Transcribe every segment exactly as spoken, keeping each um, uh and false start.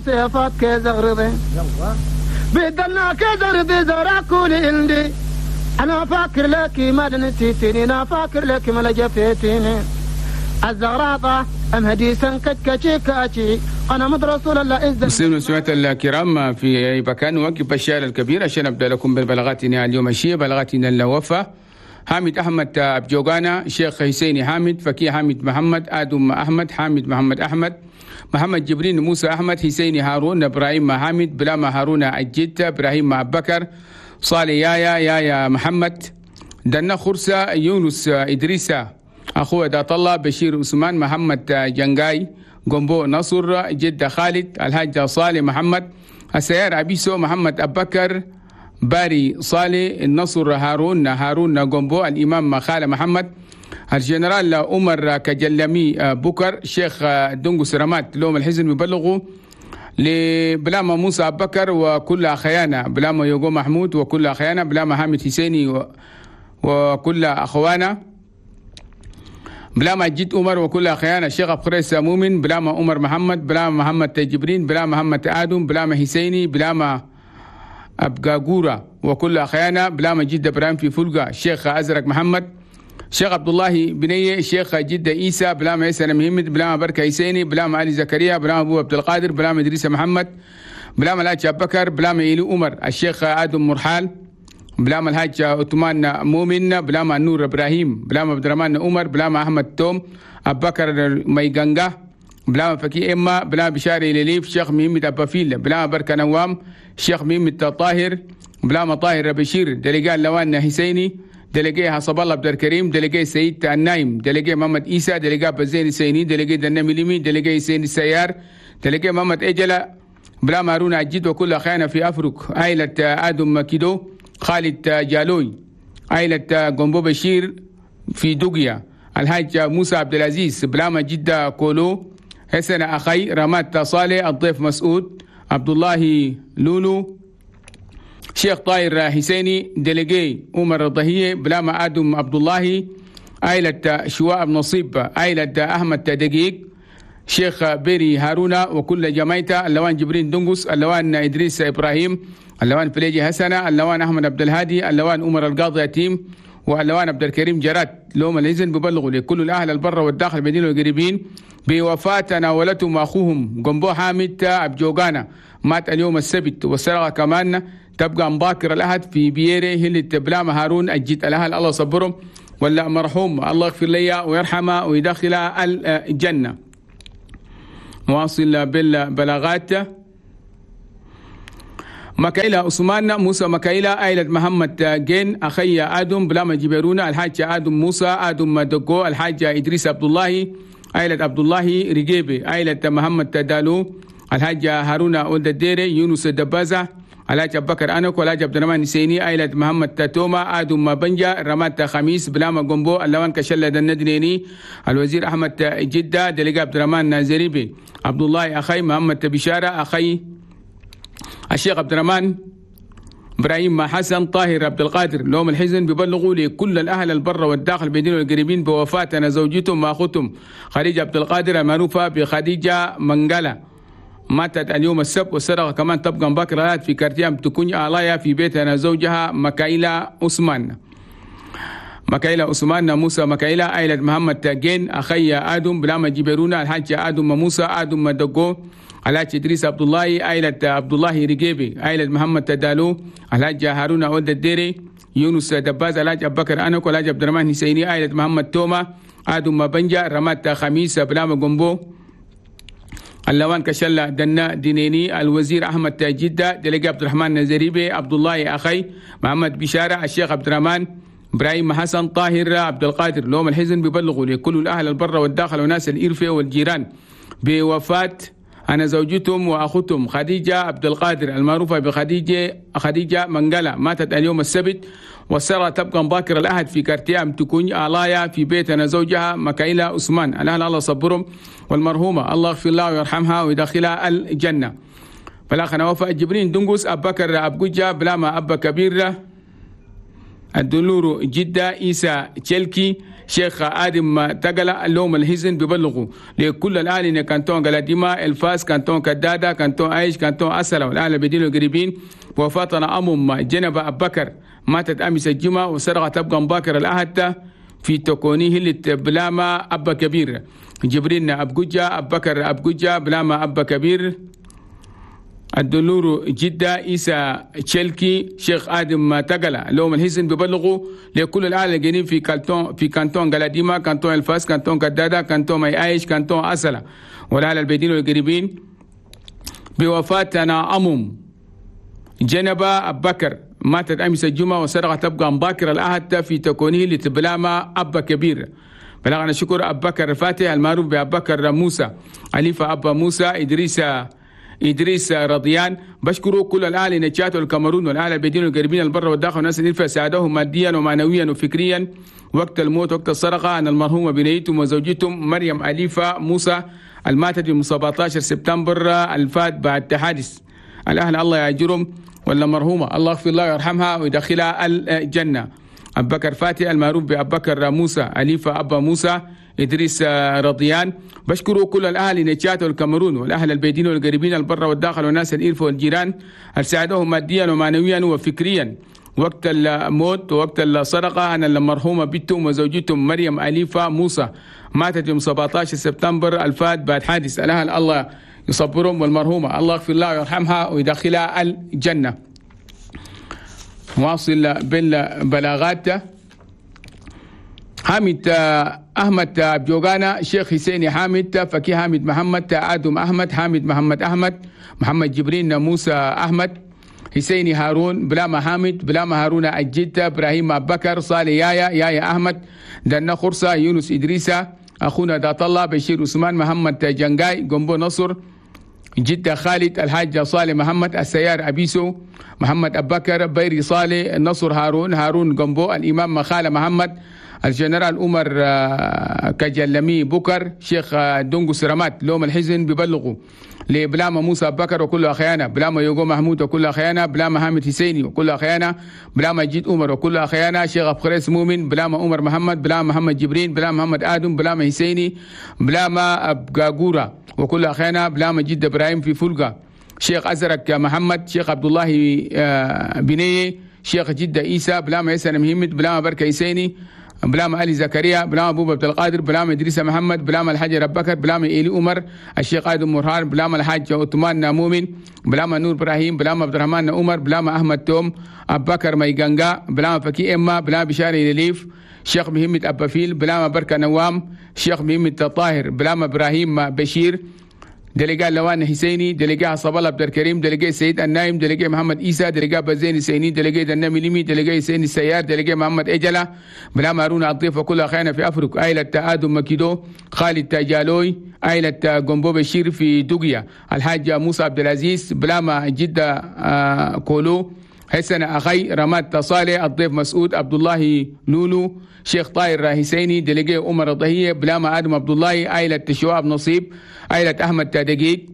سيفات كزغرضي بدلنا كزغرضي زرع كل عندي انا فاكر لك ما نسيتني انا فاكر لك ما لجفيتني الزغراطة ام هديسا كتكتشي كاتشي انا مد رسول الله إذن. مسلمين وسمعت الكرام في اي مكان، نوقف الشارع الكبير عشان ابدا لكم ببلاغاتنا اليوم الشيء بلاغاتنا الوفا. حامد احمد ابجوغانا، شيخ حسيني حامد، فكي حامد محمد، ادم احمد، حامد محمد احمد، محمد جبرين، موسى احمد، حسيني هارون، ابراهيم حامد، بلاما هارون الجد، ابراهيم بكر، صالح يايا يايا محمد، دنا خرسة، يونس ادريسة، اخوه دات الله، بشير عثمان، محمد جنجاي، جنبو نصر، جد خالد، الحاج صالح محمد، السيار أبيسو، محمد أبكر، باري صالح، النصر هارون، هارون جنبو، الإمام خالد محمد، الجنرال عمر كجلمي بكر، شيخ دنقس رمات. لوم الحزن ببلغوا لبلاما موسى أبكر وكل أخيانا، بلاما يوغو محمود وكل أخيانا، بلاما حامد حسيني وكل أخوانا، بلاما جد عمر وكل أخيانا، الشيخ أبو مؤمن، بلاما عمر محمد، بلاما محمد جبرين، بلاما محمد آدم، بلاما حسيني، بلاما أبقاقورة وكل أخيانا، بلاما جد إبراهيم في فلقة، الشيخ أزرق محمد، شيخ عبد الله بنية، الشيخ جدة عيسى، بلاما عيسى محمد، بلاما بركة حسيني، بلاما علي زكريا، بلاما أبو عبد القادر، بلاما إدريس محمد، بلاما الحاج أبو بكر، بلاما إيلي عمر، الشيخ آدم مرحال، بلاما الحاج عثمان مؤمن، بلاما نور ابراهيم، بلاما عبد الرحمن عمر، بلاما احمد توم، ابو بكر ميغانغا، بلاما فكي اما، بلاما بشاري لليف، شيخ ميمد ابافيل، بلاما بركه نوام، شيخ ميمد طاهر، بلاما طاهر بشير، دلقاء لوان حسيني، دلقاء حسب الله عبد الكريم، دلقاء سيد النايم، دلقاء محمد عيسى، دلقاء بزين السيني، دلقاء دنمي ليمي، دلقاء حسين السيار، دلقاء محمد اجلا، بلاما هارون عجيد وكل اخيانا في افريق، عائله ادم كيدو، خالد جالوي، عائلة جنبو بشير في دوغيا، الحاج موسى عبد العزيز، بلاما جدة كولو، حسن أخي، رمات صالح، الضيف مسعود، عبد الله لولو، شيخ طاهر حسيني، دلقي عمر الضهية، بلاما آدم عبد الله، عائلة شواء نصيب، عائلة أحمد دقيق، شيخ بيري هارونا وكل جمايته، اللوان جبرين دنقس، اللوان إدريس إبراهيم، اللوان فليجي حسنة، اللوان أحمد عبد الهادي، اللوان عمر القاضي يتيم، واللوان عبد الكريم جرات. لهم الإذن ببلغوا لكل الأهل البر والداخل المدينة والقريبين بوفاة تناولتهم أخوهم جنبو حامد أبجوغانا، مات اليوم السبت، والسرقة كمان تبقى مباكر الأحد في بيري هلة بلاما هارون الجيت. الأهل الله صبرهم، ولا مرحوم الله يغفر لي ويرحمه ويدخل الجنة. مواصل بالبلاغات. مكايلة عثمان موسى مكايلة، عائلة محمد جين، أخي آدم، بلاما جبرونا، الحاج آدم موسى، آدم دقو، الحاج إدريس عبد الله، عائلة عبد الله رجيبي، عائلة محمد دالو، الحاج هارون ولد الديري، يونس دبازة، الحاج أبو بكر أنك، والحاج عبد الرحمن نسيني، عائلة محمد توما، آدم بنجا، رمات خميس، بلاما جنبو، اللوان كشلة الندنيني، الوزير أحمد جدة، دلقا عبد الرحمن زريبي، عبد الله أخي، محمد بشارة أخي، الشيخ عبد الرحمن ابراهيم حسن، طاهر عبد القادر. لهم الحزن ببلغوا لكل الاهل البر والداخل المدينه والقريبين بوفاه انا زوجتهم واخوتهم خديجه عبد القادر المعروفه بخديجه منقله، ماتت اليوم السبت، والسرقه كمان تبقى مبكرات في كارتيام تكون آلايا في بيت انا زوجها مكايلا عثمان. مكايلا عثمان موسى مكايلا، عائلة محمد جين، أخي آدم، بلاما جبرونا، الحاج آدم موسى، آدم دقو، الحاج إدريس عبد الله، عائلة عبد الله رجيبي، عائلة محمد تدالو، الحاج هارون ولد الديري، يونس دباز، الحاج أبو بكر أنك، والحاج عبد الرحمن حسيني، عائلة محمد توما، آدم بنجا، رمات خميس، بلاما جنبو، اللوان كشلة دنا دينيني، الوزير أحمد جدة، دلقي عبد الرحمن نزريبي، عبد الله أخي، محمد بشارة، الشيخ عبد الرحمن ابراهيم حسن، طاهر عبد القادر. لهم الحزن ببلغوا لكل الاهل البر والداخل وناس الإرفة والجيران بوفاة أنا زوجتهم وأختهم خديجة عبد القادر المعروفة بخديجة خديجة منقلة، ماتت اليوم السبت، والسرى تبقى مباكر الأحد في كارتيام تكون آلايا في بيت أنا زوجها مكايلة عثمان. الأهل الله صبرهم، والمرحومة الله يغفر لها ويرحمها ويدخلها الجنة. فلاخنا وفاء جبرين دنقس، أبو بكر أبو بلاما أبا كبير، الدلور جدة، إيسا تشيلكي، شيخ آدم تقلا اللوم الحزن ببلغوا لكل الأهل كانتون قلاديما الفاس كانتون كدادة كانتون عايش كانتون أسلة والأهل البدين القريبين. وفاتنا أمم جنب أبو بكر ماتت أمس الجمعة وسرقة تبقى مباكر الأهد في تكونيه اللي بلاما أبا كبير جبرين أبجوجة أبو بكر أبجوجة بلاما أبا كبير الدلور جدة إيسا تشيلكي شيخ آدم تقلا لهم الحزن ببلغوا لكل الأهل الجنين في كانتون في كانتون قلاديما كانتون الفاس كانتون كدادة كانتون مي عايش كانتون أسلة والأهل البيدين والقريبين بوفاتنا أمم جنبة أبو بكر ماتت أمس الجمعة وسرقة تبقى مباكر الأهد في تكونه لتبلاما أبا كبير. بلغنا شكر أبو بكر الفاتح المعروف بأبو بكر موسى أليفة أبا موسى إدريس إدريس رضيان. بشكروا كل الأهل نجات والكاميرون والأهل البدين والقريبين البر والداخل والناس اللي ساعدوهم ماديا ومعنويا وفكريا وقت الموت وقت السرقة عن المرحومة بنيتهم وزوجتهم مريم أليفة موسى الماتت يوم سبعة عشر سبتمبر الفات بعد حادث. الأهل الله يأجرهم ولا مرحومة الله يغفر الله ويرحمها ويدخلها الجنة. أبو بكر فاتح المعروف بأبو بكر موسى أليفة أبا موسى إدريس رضيان. بشكروا كل الأهل نجات والكاميرون والأهل البيدين والقريبين البر والداخل والناس الإرف والجيران ساعدوهم ماديا ومعنويا وفكريا وقت الموت ووقت الصدقة عن المرحومة بنتهم وزوجتهم مريم أليفة موسى ماتت يوم سبعة عشر سبتمبر الفات بعد حادث. الأهل الله يصبرهم والمرحومة الله يغفر لها ويرحمها ويدخلها الجنة. واصل بالبلاغات حامد أحمد بجوغانا شيخ حسين حامد فكي حامد محمد آدم أحمد حامد محمد أحمد محمد جبرين موسى أحمد حسين هارون بلاما حامد بلاما هارون الجدة إبراهيم أبو بكر صالح يايا يايا أحمد دنا خرصة يونس إدريسة أخونا دات الله بشير عثمان محمد جنجاي جنبو نصر جدة خالد الحاج صالح محمد السيار أبيسو محمد أبو بكر بيري صالح نصر هارون هارون جنبو الإمام مخالة محمد الجنرال عمر كجلمي بكر شيخ دونغو سرامات لوم الحزن ببلغوا لبلاما موسى بكر وكل أخيانا بلاما يوغو محمود وكل أخيانا بلاما حامد حسيني وكل أخيانا بلاما جيد عمر وكل أخيانا شيخ أبخريس مؤمن بلاما عمر محمد بلاما محمد جبرين بلاما محمد آدم بلاما حسيني بلاما أبقاقورة وكل أخيانا بلاما جد إبراهيم في فلقة شيخ أزرق محمد شيخ عبد الله بنيه شيخ جدة إيسى بلاما يسن مهمد بلاما بركة حسيني بلاما علي زكريا بلاما أبو عبد القادر بلاما إدريس محمد بلاما الحاج أبو بكر بلاما إيلي عمر الشيخ آدم مرهان بلاما الحاج عثمان مؤمن بلاما نور إبراهيم بلاما عبد الرحمن عمر بلاما أحمد توم أبو بكر ميغانغا بلاما فكي إما بلاما بشاري لليف شيخ مهمة أبا فيل بلاما بركة نوام شيخ مهمة طاهر بلاما إبراهيم بشير دلقاء لوان حسيني دلقاء صبالة عبد الكريم دلقاء سيد النايم دلقاء محمد إيسى دلقاء بزين سيني دلقاء دنامي لمي دلقاء سيني السيار دلقاء محمد إجلة بلاما هارون الضيف وكل أخينا في أفريق عائلة آدم مكيدو خالد تاجالوي عائلة جنبو بشير في دوغيا الحاج موسى عبد العزيز بلاما جدة آه كولو حسن أخي رماد صالح الضيف مسعود عبد الله لولو شيخ طاهر حسيني دلقاء عمر الضهية بلاما آدم عبد الله عائلة شواب نصيب عائلة أحمد تادقيق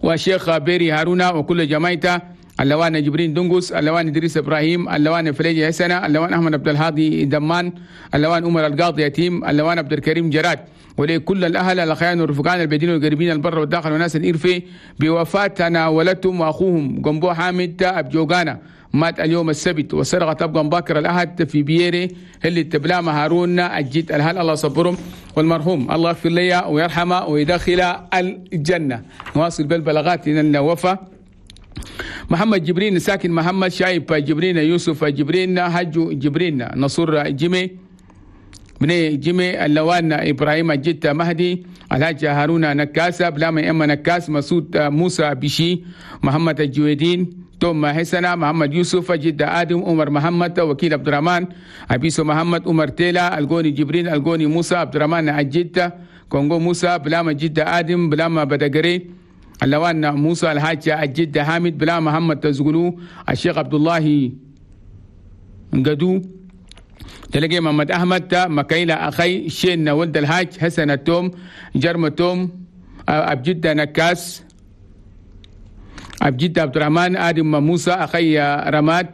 وشيخ بيري هارونا وكل جماعته اللوان جبرين دنقس اللوان إدريس إبراهيم اللوان فليجي حسنة اللوان أحمد عبد الهادي دمان اللوان عمر القاضي يتيم اللوان عبد الكريم جراد ولكل الأهل الأخيان والرفقان البدين والقريبين البر والداخل والناس الإرفي بوفاة تناولتهم وأخوهم جنبو حامد أبجوغانا مات اليوم السبت والسرقة تبقى مبكر الأحد في بيري اللي تبلام هارون الجد الهل الله صبرهم والمرحوم الله يغفر لي ويرحمه ويدخل الجنة. نواصل بالبلاغات إن الوفاة محمد جبرين ساكن محمد شايب جبرين يوسف جبرين حج جبرين نصر جيمي بني جيمي اللوان إبراهيم الجد مهدي الحاج هارون نكاسة بلاما إما نكاس مسعود موسى بشي محمد الجويدين توم حسنة محمد يوسف جد آدم عمر محمد وكيل عبد الرحمن أبيسو محمد عمر تيلا الجوني جبرين الجوني موسى عبد الرحمن الجد كونغو موسى بلاما جد آدم بلاما بدقري اللوان موسى الحاج الجد حامد بلا محمد تزغلو الشيخ عبد الله قدو تلقي محمد أحمد مكايلة أخي شين ولد الحاج حسن التوم جرم التوم أبجد نكاس أبجد عبد الرحمن آدم موسى أخي رماد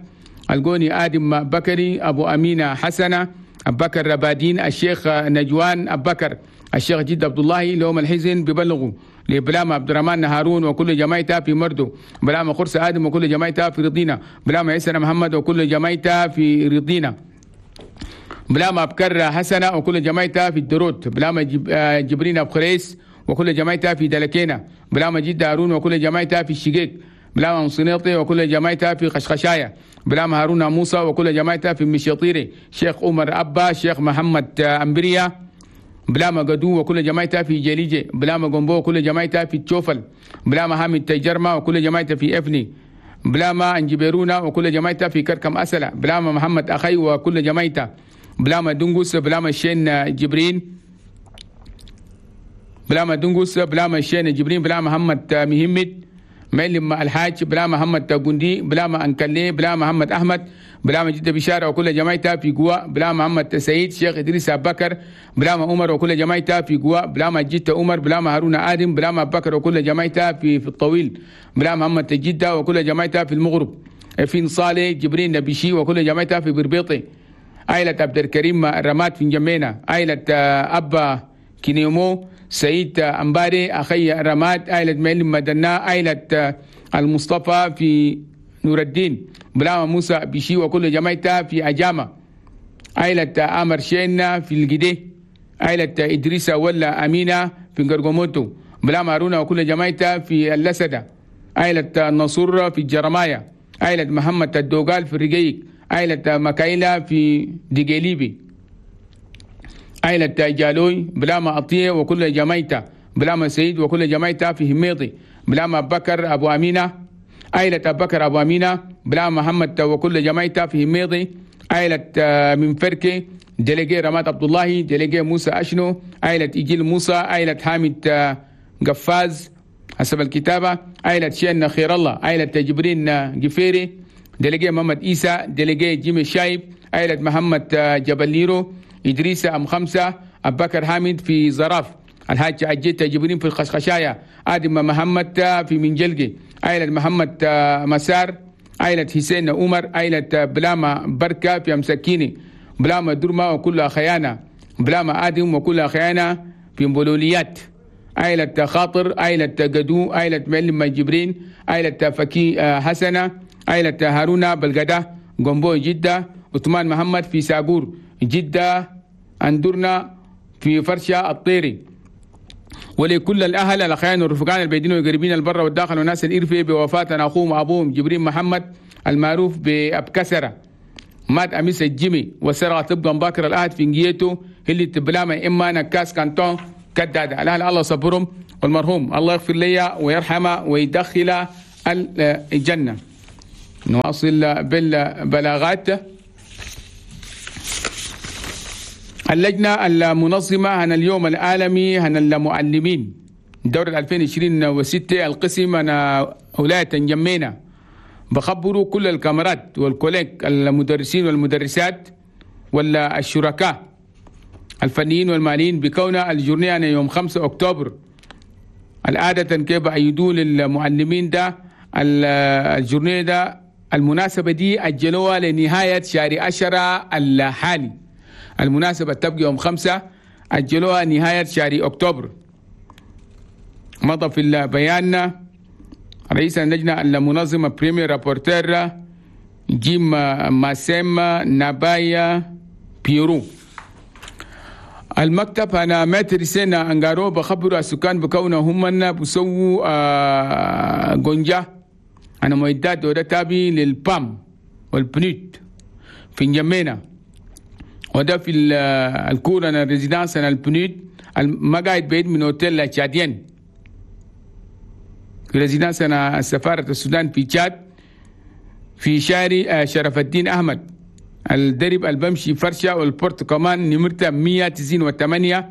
الجوني آدم بكري أبو أمينة حسنة أبكر ربادين، الشيخ نجوان أبكر، الشيخ جد عبد الله لهم الحزن ببلغوا لبلام عبد الرحمن هارون وكل جماعته في مردو، بلام خرس آدم وكل جماعته في رضينا، بلام عيسى محمد وكل جماعته في رضينا، بلام أبكر حسنة وكل جماعته في الدروت، بلام جبرين أبو خريس وكل جماعته في دلكينا، بلام جد هارون وكل جماعته في الشقيق، بلام صنيطي وكل جماعته في خشخشاية، بلام هارون موسى وكل جماعته في مشيطيري، شيخ عمر أبا، شيخ محمد أمبريا، بلام قدو وكل جماعته في جليجة، بلام قنبو وكل جماعته في تشوفل، بلام حامد تجرمة وكل جماعته في إفني، بلام أنجبيرونا وكل جماعته في كركم أسلة، بلام محمد أخي وكل جماعته، بلام دنقوس، بلام الشين جبرين، بلام دنقوس، بلام الشين جبرين، بلام محمد مهمد، معلم الحاج، بلا محمد تاجوندي، بلا ما أنكلي، بلا محمد أحمد، بلا ما جد بشارة وكل جماعته في جوا، بلا محمد سعيد، شيخ إدريس أبو بكر، بلا ما عمر وكل جماعته في جوا، بلا ما جد عمر، بلا ما هارون آدم، بلا ما بكر وكل جماعته في في الطويل، بلا محمد جدة وكل جماعته في المغرب، في صالح جبرين نبيشي وكل جماعته في بربيطي، عائلة عبد الكريم رماد في جمينة، عائلة أبا كينيمو، سعيد أمباري أخي رماد، عائلة معلم مدنا، عائلة المصطفى في نور الدين، بلاما موسى بشي وكل جماعته في أجامة، عائلة أمر شينا في الجدي، عائلة إدريس ولا أمينة في قرقوموتو، بلاما هارون وكل جماعته في اللسدة، عائلة النصور في الجرماية، عائلة محمد الدوغال في الرقيق، عائلة مكايلة في ديجيليبي، عائلة جالوي، بلاما عطية وكل جماعته، بلاما سعيد وكل جماعته في هميطي، بلاما بكر أبو أمينة، عائلة بكر أبو أمينة، بلاما محمد وكل جماعته في هميطي، عائلة من فركي، دليجي رماد عبد الله، دليجي موسى أشنو، عائلة إجيل موسى، عائلة حامد قفاز حسب الكتابة، عائلة شين خير الله، عائلة جبرين جفيري، دليجي محمد إيسى، دليجي جيمي شايب، عائلة محمد جبليرو، إدريس أم خمسة، أبو بكر حامد في زراف، الحاج عجيت جبرين في الخشخشاية، آدم محمد في منجلقي، عائلة محمد مسار، عائلة حسين عمر، عائلة بلاما بركة في أمسكيني، بلاما درما وكل خيانة، بلاما آدم وكل خيانة في مبولوليات، عائلة خاطر، عائلة قدو، عائلة معلم جبرين، عائلة فكي حسنة، عائلة هارون بلغدة قنبو جدة، عثمان محمد في ساقور جدة، أندرنا في فرشة الطيري. ولكل الأهل الأخيان والرفقان البيدين والقريبين البر والداخل والناس الإرفي بوفاة أخوهم وأبوهم جبرين محمد المعروف بأبكسرة، مات أمس الجيمي وسرعة تبقى باكر الأهد في نجيته اللي تبلاما إما نكاس كانتون كدادة. الأهل الله صبرهم، والمرحوم الله يغفر لي ويرحمه ويدخل الجنة. نواصل بالبلاغات. اللجنة المنظمة عن اليوم العالمي عن المعلمين دورة ألفين وعشرين وستة القسم أنا ولاية جمينة بخبروا كل الكاميرات والكوليك المدرسين والمدرسات ولا الشركاء الفنيين والماليين بكون الجورنيه يوم خمسة أكتوبر. العادة كيف أيدوا للمعلمين ده الجورنيه ده المناسبة دي أجلوها لنهاية شهر عشرة الحالي. المناسبة تبقى يوم خمسة، أجلوها نهاية شهر أكتوبر. مضى في البيان رئيس اللجنة المنظمة premier rapporteur جيم ماسيم نابايا بيرو. المكتب أنا متر سنة أنغارو بخبروا السكان بكونه هم بسووا آه جونجا أنا معدات وده تابي للبام والبنيت في نجمينا، وده في الكورة أنا résidence أنا البنيت ما قاعد بعيد من أوتيل تشادين في résidence أنا سفارة السودان في تشاد في شارع شرف الدين أحمد الدرب البمشي فرشة والبورت كمان نمرته مية وتسعين وثمانية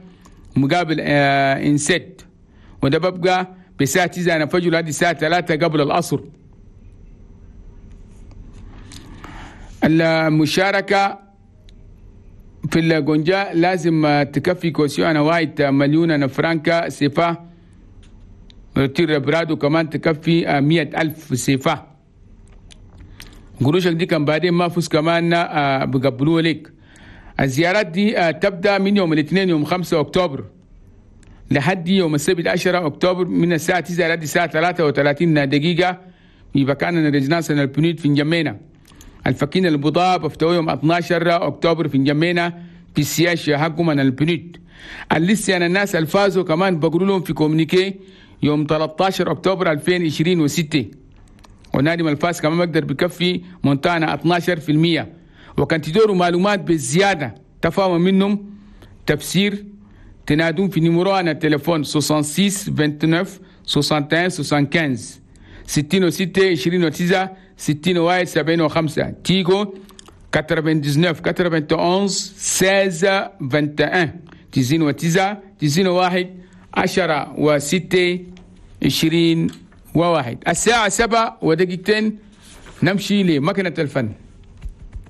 مقابل آه إنسيت، وده ببقى بساعة تسعة أنا فجر هذه الساعة ثلاثة قبل العصر. المشاركة في الجونجا لازم تكفي caution أنا واحد مليون فرانكا سيفا، رتير برادو كمان تكفي مية ألف سيفا. قروشك دي كان بعدين ما فوز كمان بقبلوه لك. الزيارات دي تبدأ من يوم الاثنين يوم خمسة أكتوبر لحد يوم السبت عشرة أكتوبر من الساعة تسعة لحد الساعة ثلاثة وثلاثين دقيقة في مكان ال résidence ال PNUD في نجمينا. الفكين البضاء بفتوى يوم اثنا عشر أكتوبر في نجمينا في ال siège حقهم من ال PNUD. اللسه أنا الناس الفازوا كمان بقولوا لهم في communiqué يوم ثلاثة عشر أكتوبر ألفين وستة، ونادم الفاز كمان بقدر بكفي montant انا اثنا عشر في المية. وكان تدوروا معلومات بالزيادة تفاهم منهم تفسير، تنادون في numéro انا التليفون ستة وستين تسعة وعشرين واحد وستين خمسة وسبعين، ستة وستين تسعة وعشرين ستة وواحد سبعة وخمسين، تيجو تسعة وتسعين واحد وتسعين ستة عشر واحد وعشرين، تسعة وتسعين تسعة وواحد عشرة وستة عشرين وواحد. الساعة سبعة ودقيقتين، نمشي لمكنة الفن.